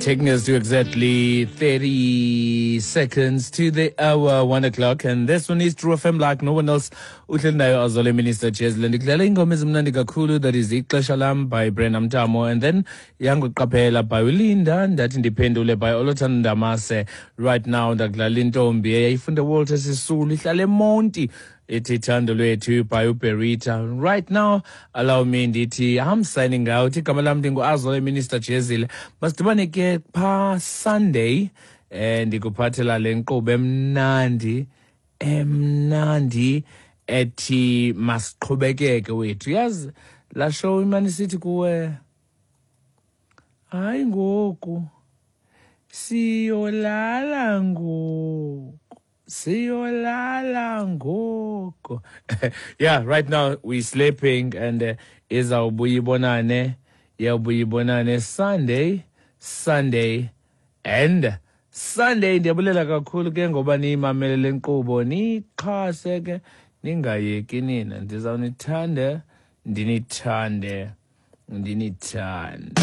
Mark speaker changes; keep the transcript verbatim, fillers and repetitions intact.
Speaker 1: Taking us to exactly thirty seconds to the hour, one o'clock. And this one is True F M like no one else. Uhleli nayo Azole Minister Jezile. Ndikudlala ingoma ezimnandi kakhulu, that is Ixesha Lam by Brenda Mtamo, and then Yanguqaphela by Ulinda, Ndathi Ndiphendule by Olothando Ndamase. Right now ndakudlala intombi eyayifunda Walter Sisulu, ihlala eMonti, ithi Thando Lwethu by Uberita. Right now, allow me ndithi I'm signing out. Igama lam ndingu-Azole Minister Jezile. Masidibane ke pha Sunday, eh ndikuphathela le nkqubo emnandi emnandi ethi masiqhubekeke wethu. Yazi la show imane sithi kuwe, hayi ngoku siyolala ngoku, siyolala ngoku. Yeah, right now we sleeping, and uh, izawubuya ibonane, iyawubuya ibonane Sunday, Sunday and Sunday. Ndiyabulela kakhulu ke ngoba niyimamele le nkqubo, niyixhase ke, ningayeki nina. Ndizawunithanda, ndinithande, ndinithande.